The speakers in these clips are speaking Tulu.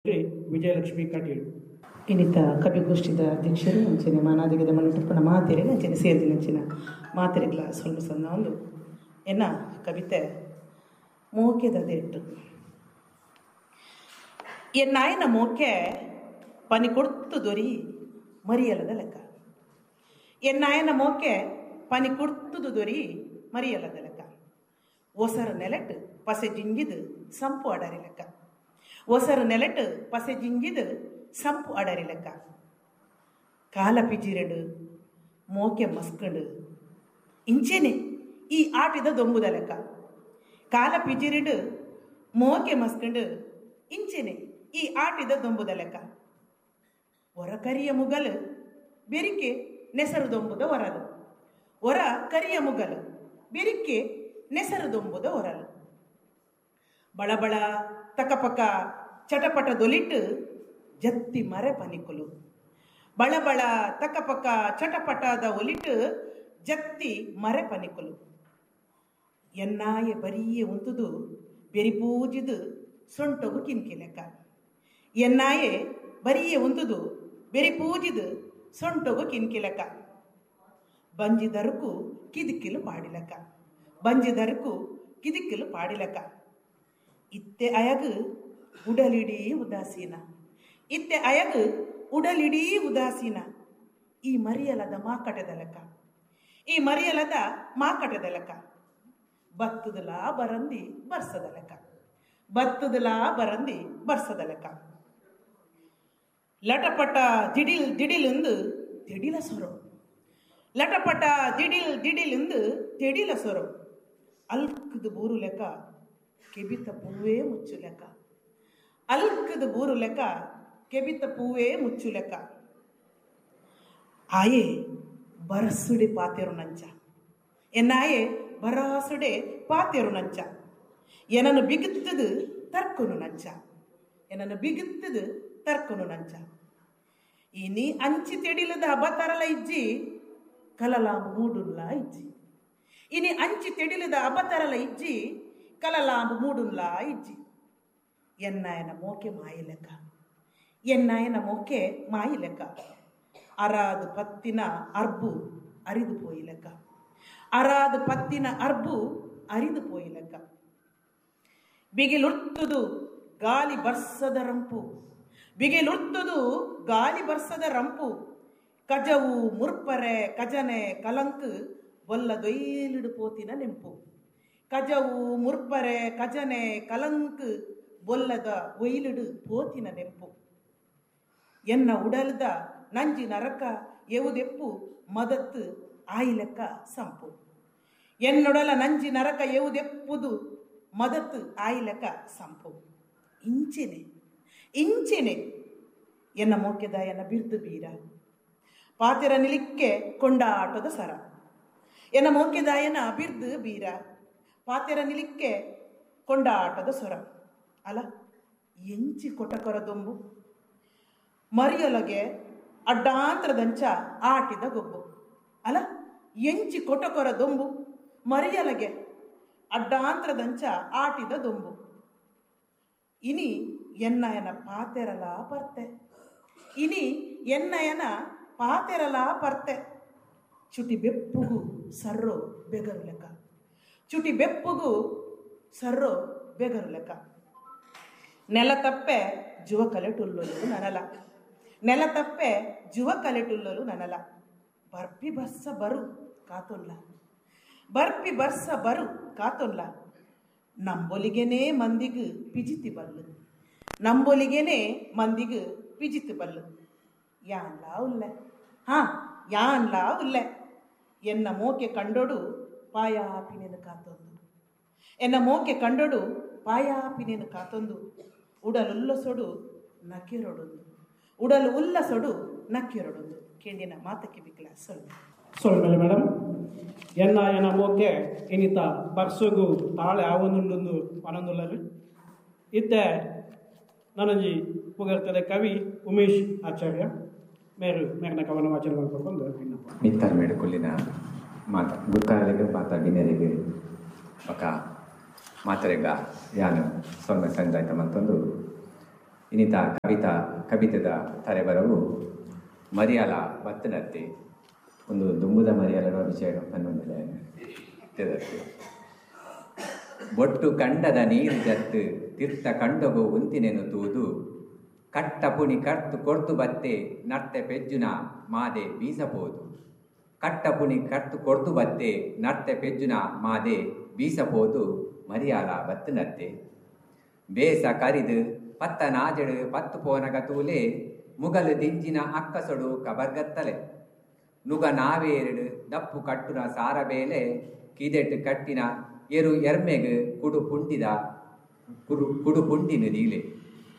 ವಿಜಯಲಕ್ಷ್ಮಿ ಕಟೀಲ್. ಇನ್ನಿತ ಕವಿಗೋಷ್ಠಿದ ಅಧ್ಯಕ್ಷರು ಅಂಚನೆ ಮಾನಾದಿಗದ ಮಣ್ಣು ಮಾತೆರೆಗೆ ಅಂಚನೆ ಸೇರಿದಿನಂಚಿನ ಮಾತೆರೆಗ್ಲ ಸ್ವಲ್ಪ ಸಣ್ಣ ಒಂದು ಎನ್ನ ಕವಿತೆ ಮೋಕೆದ ದೆಟ್ಟು. ಎನ್ನಾಯನ ಮೋಕೆ ಪನಿ ಕೊಡ್ತು ದೊರಿ ಮರಿಯಲದ ಲೆಕ್ಕ. ಎನ್ನಾಯನ ಮೋಕೆ ಪನಿ ಕೊಡ್ತುದು ದೊರಿ ಮರಿಯಲದ ಲೆಕ್ಕ. ಒಸರ ನೆಲೆಟ್ ಪಸೆ ಜಿಂಜಿದು ಸಂಪು ಅಡರಿ ಲೆಕ್ಕ. ಒಸರು ನೆಲೆಟ್ ಪಸೆ ಜಿಂಜಿದು ಸಂಪು ಅಡರಿ ಲೆಕ್ಕ. ಕಾಲ ಪಿಜಿರಡು ಮೋಕೆ ಮಸ್ಕಂಡು ಇಂಚೆನೆ ಈ ಆಟಿದ ದೊಂಬುದ ಲೆಕ್ಕ. ಕಾಲ ಪಿಜಿರಿಡು ಮೋಕೆ ಮಸ್ಕಂಡು ಇಂಚೆನೆ ಈ ಆಟಿದ ದೊಂಬುದ ಲೆಕ್ಕ. ಹೊರ ಕರಿಯ ಮುಗಲು ಬೆರಿಕೆ ನೆಸರು ದೊಂಬುದ ಹೊರಲು. ಹೊರ ಕರಿಯ ಮುಗಲು ಬೆರಿಕೆ ನೆಸರು ದೊಂಬುದ ಹೊರಲು. ಬಳಬಳ ತಕಪಕ ಚಟಪಟ ದೊಲಿಟ್ಟು ಜತ್ತಿ ಮರೆ ಪನಿಕುಲು. ಬಳಬಳ ತಕಪಕ ಚಟಪಟದ ಒಲಿಟ್ಟು ಜತ್ತಿ ಮರೆ ಪನಿಕುಲು. ಎನ್ನಾಯ ಬರಿಯೇ ಉಂತುದು ಬೆರಿಪೂಜಿದು ಸೊಂಟಗು ಕಿನ್ಕಿ ಲೆಕ್ಕ. ಎನ್ನಾಯೆ ಬರಿಯೇ ಉಂತುದು ಬೆರಿಪೂಜಿದು ಸೊಂಟಗು ಕಿನ್ಕಿ ಲೆಕ್ಕ. ಬಂಜಿದರುಕು ಕಿದಿಕ್ಕಿಲು ಪಾಡಿಲೆಕ್ಕ. ಬಂಜಿದರುಕು ಕಿದಿಕ್ಕಿಲು ಪಾಡಿಲೆಕ್ಕ. ಇತ್ತೆ ಅಯಗು ಉಡಲಿಡೀ ಉದಾಸೀನ. ಇತ್ತೆ ಅಯಗು ಉಡಲಿಡೀ ಉದಾಸೀನ. ಈ ಮರಿಯಲದ ಮಾಕಟದ ಲೆಕ್ಕ. ಈ ಮರಿಯಲದ ಮಾಕಟದ ಲೆಕ್ಕ. ಬತ್ತದಲಾ ಬರಂದಿ ಬರ್ಸದ ಲೆಕ್ಕ. ಬತ್ತದಲಾ ಬರಂದಿ ಬರ್ಸದ ಲೆಕ್ಕ. ಲಟಪಟ ದಿಡಿಲ್ ದಿಡಿಲೆಂದು ತೆಡಿಲ ಸೊರೊ. ಲಟಪಟ ದಿಡಿಲ್ ದಿಡಿಲೆಂದು ತೆಡಿಲ ಸೊರೊ. ಅಲ್ಕದು ಬೂರು ಲೆಕ್ಕ ಕೆಬಿತ ಪೂವೇ ಮುಚ್ಚು ಲೆಕ್ಕ. ಅಲ್ಕದು ಬೂರು ಲೆಕ್ಕ ಕೆಬಿತ ಪೂವೇ ಮುಚ್ಚು ಲೆಕ್ಕ. ಆಯೆ ಬರಸುಡೆ ಪಾತೆರು ನಂಚ. ಎನ್ನಾಯೆ ಬರಾಸುಡೆ ಪಾತೆರು ನಂಚ. ಏನನ್ನು ಬಿಗುತ್ತದು ತರ್ಕನು ನಂಚ. ಏನನ್ನು ಬಿಗುತ್ತದು ತರ್ಕನು ನಂಚ. ಇನಿ ಅಂಚಿ ತೆಡಿಲದ ಅಬತರಲ ಇಜ್ಜಿ ಕಲಲಾಂಬು ಮೂಡುನ್ಲ ಇಜ್ಜಿ. ಇನಿ ಅಂಚಿ ತೆಡಿಲದ ಅಬತರಲ ಇಜ್ಜಿ ಕಲಲಾಂಬು ಮೂಡುನ್ಲ ಇಜ್ಜಿ. ಎನ್ನಾಯನ ಮೋಕೆ ಮಾಯಿ ಲೆಕ್ಕ. ಎನ್ನಾಯನ ಮೋಕೆ ಮಾಯಿ ಲೆಕ್ಕ. ಅರಾದು ಪತ್ತಿನ ಅರ್ಬು ಅರಿದು ಪೋಯಿ ಲೆಕ್ಕ. ಅರಾದು ಪತ್ತಿನ ಅರ್ಬು ಅರಿದು ಪೋಯಿ ಲೆಕ್ಕ. ಬಿಗಿಲುರ್ತುದು ಗಾಲಿ ಬರ್ಸದ ರಂಪು. ಬಿಗಿಲುರ್ತುದು ಗಾಲಿ ಬರ್ಸದ ರಂಪು. ಕಜವು ಮುರ್ಪರೆ ಕಜನೆ ಕಲಂಕು ಬೊಲ್ಲ ದೊಯ್ಲಿಡು ಪೋತಿನ ನೆಂಪು. ಕಜವು ಮುರ್ಪರೆ ಕಜನೆ ಕಲಂಕು ಬೊಲ್ಲದ ಒಯ್ಲಿಡು ಪೋತಿನ ನೆಂಪು. ಎನ್ನ ಉಡಲ್ದ ನಂಜಿ ನರಕ ಎವುದೆಪ್ಪು ಮದತ್ತು ಆಯಿಲೆಕ್ಕ ಸಂಪು. ಎನ್ನೊಡಲ ನಂಜಿ ನರಕ ಎವುದೆಪ್ಪುದು ಮದತ್ತು ಆಯಿಲೆಕ್ಕ ಸಂಪು. ಇಂಚೆನೆ ಇಂಚೆನೆ ಎನ್ನ ಮೋಕೆದಾಯನ ಬಿರ್ದು ಬೀರ ಪಾತೆರ ನಿಲಿಕ್ಕೆ ಕೊಂಡಾಟದ ಸರ. ಎನ್ನ ಮೋಕೆದಾಯನ ಬಿರ್ದು ಬೀರ ಪಾತೆರ ನಿಲಿಕ್ಕೆ ಕೊಂಡಾಟದ ಸೊರ. ಅಲ್ಲ ಎಂಚಿ ಕೊಟಕೊರ ದೊಂಬು ಮರಿಯೊಲಗೆ ಅಡ್ಡಾಂತರದಂಚ ಆಟಿದ ಗೊಬ್ಬು. ಅಲ್ಲ ಎಂಚಿ ಕೊಟಕೊರ ದೊಂಬು ಮರಿಯಲಗೆ ಅಡ್ಡಾಂತರದಂಚ ಆಟಿದ ದೊಂಬು. ಇನಿ ಎನ್ನಯನ ಪಾತೆರಲ ಪರ್ತೆ. ಇನಿ ಎನ್ನಯನ ಪಾತೆರಲ ಪರ್ತೆ. ಚುಟಿ ಬೆಪ್ಪುಗು ಸರ್ರೋ ಬೆಗರು ಲೆಕ್ಕ. ಚುಟಿ ಬೆಪ್ಪುಗು ಸರ್ರೋ ಬೆಗರು ಲೆಕ್ಕ. ನೆಲ ತಪ್ಪೆ ಜುವ ಕಲೆಟುಲ್ಲಲು ನನಲ. ನೆಲ ತಪ್ಪೆ ಜುವ ಕಲೆಟುಲ್ಲಲು ನನಲ. ಬರ್ಪಿ ಬರ್ಸ ಬರು ಕಾತೊಲ್ಲ. ಬರ್ಪಿ ಬರ್ಸ ಬರು ಕಾತೊಲ್ಲ. ನಂಬೊಲಿಗೆನೇ ಮಂದಿಗು ಪಿಜಿತಿ ಬಲ್ಲು. ನಂಬೊಲಿಗೆನೇ ಮಂದಿಗು ಪಿಜಿತಿ ಬಲ್ಲು. ಯಾನ್ಲಾ ಉಲ್ಲೆ. ಹಾ ಯಾನ್ಲಾ ಉಲ್ಲೆ. ಎನ್ನ ಮೋಕೆ ಕಂಡೊಡು ಪಾಯಾಪಿನೇನು ಕಾತೊಂದು. ಎನ್ನ ಮೋಕೆ ಕಂಡೊಡು ಪಾಯಾಪಿನೇನು ಕಾತೊಂದು. ಉಡಲುಲ್ಲಸೊಡು ನಕ್ಕಿರೊಡೊಂದು. ಉಡಲು ಉಲ್ಲಸೊಡು ನಕ್ಕಿರೊಡೊಂದು. ಕೇಂಡಿನ ಮಾತಕ್ಕೆ ಬಿಕ್ಲ ಸೊಲ್ಲು ಸೊಲ್ಮೆಲೆ ಮೇಡಮ್. ಎನ್ನ ಎನ್ನ ಮೋಕೆ ಇನ್ನಿತ ಬರ್ಸಗು ತಾಳೆ ಆವೊಂದುಂಡು ಪನೊಂದುಲ್ಲರು. ಇತ್ತೆ ನನಂಜಿ ಪುಗರ್ತದೆ ಕವಿ ಉಮೇಶ್ ಆಚಾರ್ಯ ಮೇರು ಮೇರಿನ ಕವನ ವಾಚನ ಮಾಡ್ಕೊಂಡು ವಿನ್ನಪ. ಮಿತ್ತರ್ ಮೇಡುಕೊಲ್ಲಿನ ಮಾತ ಗುರ್ಕಾರರಿಗೆ ಮಾತ ಗಿನ್ನೆರಿಗೆ ಬಕ ಮಾತರೆಗ ಯಾನು ಸೊನ್ನೆ ಸಂಜಾಯ್ತ ಮತ್ತೊಂದು ಇನಿತ ಕವಿತಾ ಕವಿತೆದ ತರೆಬರವು ಮರಿಯಾಲ ಬತ್ತನತ್ತೆ ಒಂದು ದುಂಬುದ ಮರಿಯಾಲನ ವಿಷಯ ಪನ್ನೊಂದಿಲ್ಲ. ಬೊಟ್ಟು ಕಂಡದ ನೀರು ಜತ್ತು ತೀರ್ಥ ಕಂಡಗು ಉಂತಿನೆನು ತೂದು ಕಟ್ಟ ಪುಣಿ ಕರ್ತು ಕೊರ್ತು ಬತ್ತೆ ನರ್ತೆ ಪೆಜ್ಜುನ ಮಾದೆ ಬೀಸಬೋದು. ಕಟ್ಟ ಪುಣಿ ಕರ್ತು ಕೊರ್ತು ಬತ್ತೆ ನರ್ತೆ ಪೆಜ್ಜುನ ಮಾದೆ ಬೀಸಬೋದು ಮರಿಯಾಲ ಬತ್ತನತ್ತೆ. ಬೇಸ ಕರಿದು ಪತ್ತ ನಾಜಡು ಪತ್ತು ಪೋನಗ ತೂಲೆ ಮುಗಲು ದಿಂಜಿನ ಅಕ್ಕಸೊಡು ಕಬರ್ಗತ್ತಲೆ. ನುಗ ನಾವೇರಡು ದಪ್ಪು ಕಟ್ಟುನ ಸಾರಬೇಲೆ ಕಿದೆಟು ಕಟ್ಟಿನ ಎರು ಎರ್ಮೆಗು ಕುಡು ಪುಂಡಿದ ಕುಡು ಪುಂಡಿನ ದೀಲೆ.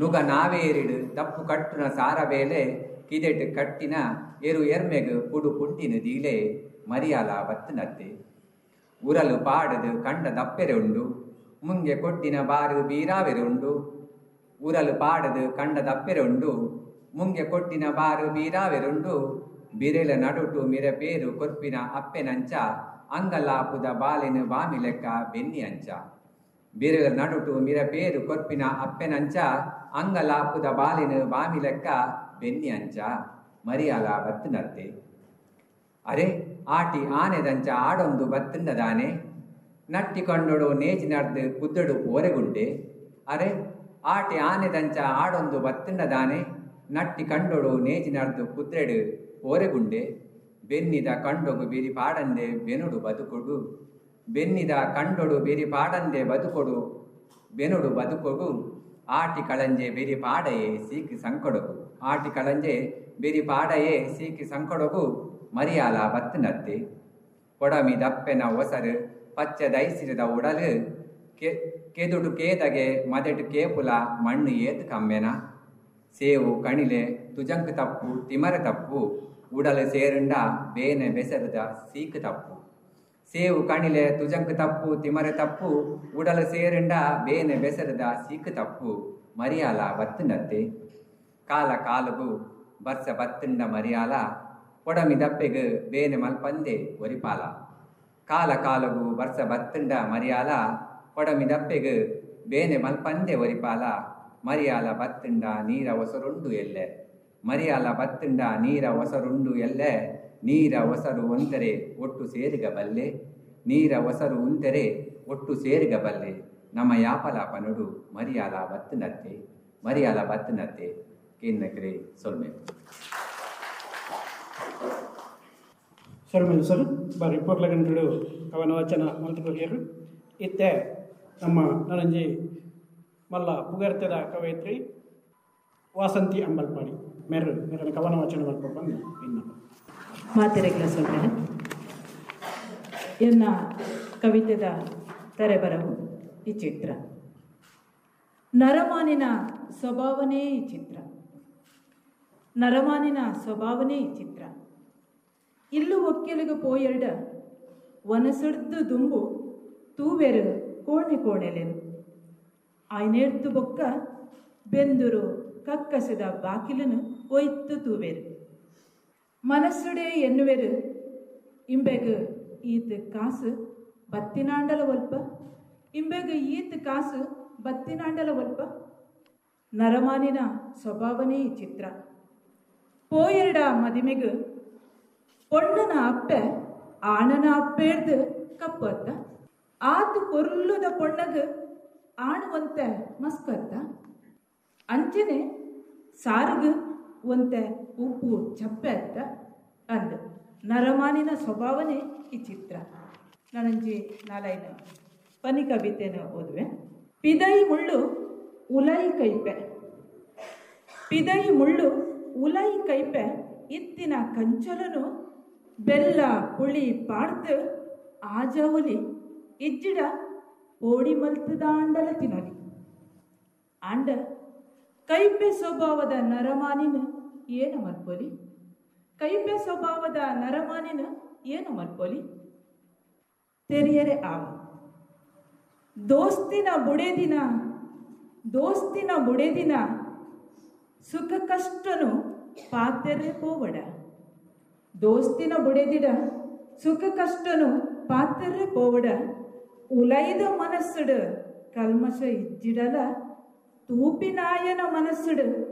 ನುಗ ನಾವೇರಿಡು ದಪ್ಪು ಕಟ್ಟುನ ಸಾರಬೇಲೆ ಕಿದೆಟು ಕಟ್ಟಿನ ಎರು ಎರ್ಮೆಗು ಕುಡು ಪುಂಡಿನ ದೀಲೆ ಮರಿಯಾಲ ಬತ್ತನತ್ತೆ. ಉರಲು ಪಾಡದು ಕಂಡ ದಪ್ಪೆರೆ ಉಂಡು ಮುಂಗೆ ಕೊಟ್ಟಿನ ಬಾರು ಬೀರಾವೆರೆ ಉಂಡು. ಉರಲು ಪಾಡದು ಕಂಡ ದಪ್ಪೆರೆ ಉಂಡು ಮುಂಗೆ ಕೊಟ್ಟಿನ ಬಾರು ಬೀರಾವೆರುಂಡು. ಬಿರೆಲ ನಡುಟು ಮಿರ ಪೇರು ಕೊರ್ಪಿನ ಅಪ್ಪೆನಂಚ ಅಂಗಲಾಪುದ ಬಾಲಿನ ಬಾಮಿ ಲೆಕ್ಕ ಬೆನ್ನಿ ಅಂಚ. ಬಿರೆಲ ನಡುಟು ಮಿರ ಪೇರು ಕೊರ್ಪಿನ ಅಪ್ಪೆನಂಚ ಅಂಗಲಾಪುದ ಬಾಲಿನ ಬಾಮಿ ಲೆಕ್ಕ ಬೆನ್ನಿ ಅಂಚ ಮರಿಯಾಲ ಬತ್ತನತ್ತೆ. ಅರೆ ಆಟಿ ಆನೆದಂಚ ಆಡೊಂದು ಬತ್ತಂಡದಾನೆ ನಟ್ಟಿಕೊಂಡೊಡು ನೇಜಿ ನಡ್ದು ಕುದ್ದಡು ಓರೆಗುಂಡೆ. ಅರೆ ಆಟಿ ಆನೆದಂಚ ಆಡೊಂದು ಬತ್ತಂಡದಾನೆ ನಟ್ಟಿ ಕಂಡೊಡು ನೇಜಿ ನಡ್ದು ಕುದ್ರೆಡು ಓರೆಗುಂಡೆ. ಬೆನ್ನಿದ ಕಂಡೊಗು ಬಿರಿ ಪಾಡಂದೆ ಬೆನುಡು ಬದುಕೊಡು. ಬೆನ್ನಿದ ಕಂಡೊಡು ಬಿರಿ ಪಾಡಂದೆ ಬದುಕೊಡು ಬೆನುಡು ಬದುಕೊಡು. ಆಟಿ ಕಳಂಜೆ ಬಿರಿ ಪಾಡಯೇ ಸೀಕಿ ಸಂಕಡಗು. ಆಟಿ ಕಳಂಜೆ ಬಿರಿ ಪಾಡಯೇ ಸೀಕಿ ಸಂಕಡಗು ಮರಿಯಾಲ ಬತ್ತನತ್ತೆ. ಕೊಡಮಿ ದಪ್ಪೆನ ಒಸರು ಪಚ್ಚ ದೈಸಿರದ ಉಡಲು ಕೆದುಡು ಕೇದಗೆ ಮದೆಟು ಕೇಪುಲ ಮಣ್ಣು ಏತು ಕಮ್ಮೆನ. ಸೇವು ಕಣಿಲೆ ತುಜಂಕು ತಪ್ಪು ತಿಮರೆ ತಪ್ಪು ಉಡಲು ಸೇರುಂಡ ಬೇನೆ ಬೆಸರದ ಸೀಕು ತಪ್ಪು. ಸೇವು ಕಣಿಲೆ ತುಜಂಕು ತಪ್ಪು ತಿಮರೆ ತಪ್ಪು ಉಡಲು ಸೇರುಂಡ ಬೇನೆ ಬೆಸರದ ಸೀಕು ತಪ್ಪು ಮರಿಯಾಲ ಬತ್ತನತ್ತೆ. ಕಾಲ ಕಾಲುಗು ಬರ್ಸ ಬತ್ತಂಡ ಮರಿಯಾಲ ಕೊಡಮಿ ದಪ್ಪೆಗು ಬೇನೆ ಮಲ್ಪಂದೆ ಒರಿಪಾಲ. ಕಾಲ ಕಾಲುಗು ಬರ್ಸ ಬತ್ತಂಡ ಮರಿಯಾಲ ಕೊಡಮಿ ದಪ್ಪೆಗು ಬೇನೆ ಮಲ್ಪಂದೆ ಒರಿಪಾಲ. ಮರಿಯಾಲ ಬತ್ತಂಡ ನೀರ ಒಸರುಂಡು ಎಲ್ಲೆ. ಮರಿಯಾಲ ಬತ್ತಂಡ ನೀರ ಒಸರುಂಡು ಎಲ್ಲೆ. ನೀರ ಒಸರು ಒಂದರೆ ಒಟ್ಟು ಸೇರಿಗ ಬಲ್ಲೆ. ನೀರ ಒಸರು ಉಂದರೆ ಒಟ್ಟು ಸೇರಿಗ ಬಲ್ಲೆ. ನಮ್ಮ ಯಾಪಲ ಪನುಡು ಮರಿಯಾಲ ಬತ್ತನತ್ತೆ. ಮರಿಯಾಲ ಬತ್ತನತ್ತೆ. ಕೇಂದ್ರಕ್ರೆ ಸೊಲ್ಮೆ ಸೊಲ್ಮೇಲು ಸರ್ ಬಾರಿ ಪೊರ್ಲಗಂಟುಡು ಕವನ ವಚನ ಮಲ್ತುಕೊರಿಯರು. ಇತ್ತೆ ನಮ್ಮ ನನಂಜಿ ಮಲ್ಲ ಪುಗರ್ತೆದ ಕವಯಿತ್ರಿ ವಾಸಂತಿ ಅಂಬಲ್ಪಾಡಿ ಮೇರು ಮೇರನ ಕವನ ವಚನ ಮಲ್ಪ ಬಂದು ಇನ್ನು ಮಾತೆರೆಗ್ಲ ಸೊಲ್ಮೇಲೆ ಎನ್ನ ಕವಿತೆದ ತರೆಬರವು ಈ ಚಿತ್ರ. ನರಮಾನಿನ ಸ್ವಭಾವನೇ ಈ ಚಿತ್ರ. ನರಮಾನಿನ ಸ್ವಭಾವನೇ ಈ ಚಿತ್ರ. ಇಲ್ಲು ಒಕ್ಕೆಲುಗು ಪೋಯೆರಡ ವನಸಡ್ದು ದುಂಬು ತೂವೆರು ಕೋಣೆ ಕೋಣೆಲೆನು. ಆಯ್ನೇರ್ತು ಬೊಕ್ಕ ಬೆಂದುರು ಕಕ್ಕಸದ ಬಾಕಿಲನು ಒಯ್ತು ತೂವೆರು. ಮನಸ್ಸುಡೆ ಎನ್ನುವೆರು ಇಂಬೆಗು ಈತ ಕಾಸು ಬತ್ತಿನಾಂಡಲ ಒಲ್ಪ. ಇಂಬೆಗು ಈತ ಕಾಸು ಬತ್ತಿನಾಂಡಲ ಒಲ್ಪ. ನರಮಾನಿನ ಸ್ವಭಾವನೇ ಈ ಚಿತ್ರ. ಪೋಯೆರಡ ಮದಿಮೆಗು ಪೊಣ್ಣನ ಅಪ್ಪೆ ಆಣನ ಅಪ್ಪೇರ್ದು ಕಪ್ಪತ್ತ. ಆತು ಪೊರ್ಲುದ ಪೊಣ್ಣಗು ಆಣುವಂತೆ ಮಸ್ಕತ್ತ. ಅಂಚನೆ ಸಾರುಗು ಒಂತೆ ಉಪ್ಪು ಚಪ್ಪೆ ಅತ್ತ ಅಂದ ನರಮಾನಿನ ಸ್ವಭಾವನೇ ಈ ಚಿತ್ರ. ನಾನಂಜಿ ನಾಲೈನ ಪನಿ ಕವಿತೆನ ಓದುವೆ. ಪಿದೈ ಮುಳ್ಳು ಉಲೈ ಕೈಪೆ. ಪಿದೈ ಮುಳ್ಳು ಉಲೈ ಕೈಪೆ ಇತ್ತಿನ ಕಂಚಲನು ಬೆಲ್ಲ ಪುಳಿ ಪಾಡ್ದು ಆಜವಲಿ ಇಜ್ಜಿಡ ಪೋಡಿ ಮಲ್ತದಾಂಡಲ ತಿನ್ನಲಿ. ಆಂಡ ಕೈಪೆ ಸ್ವಭಾವದ ನರಮಾನಿನ ಏನ ಮಲ್ಪೊಲಿ. ಕೈಪೆ ಸ್ವಭಾವದ ನರಮಾನಿನ ಏನ ಮಲ್ಪೊಲಿ. ತೆರಿಯರೆ ಆವ ದೋಸ್ತಿನ ಬುಡೆದಿನ ದೋಸ್ತಿನ ಬುಡೆದಿನ ಸುಖ ಕಷ್ಟನು ಪಾತೆರೆ ಪೋವಡ. ದೋಸ್ತಿನ ಬುಡೆದಿಡ ಸುಖ ಕಷ್ಟನು ಪಾತೆರೆ ಪೋವಡ. ಉಲೈದ ಮನಸ್ಸುಡು ಕಲ್ಮಶ ಇಜ್ಜಿಡಲ ತೂಪಿನಾಯನ ಮನಸ್ಸುಡು.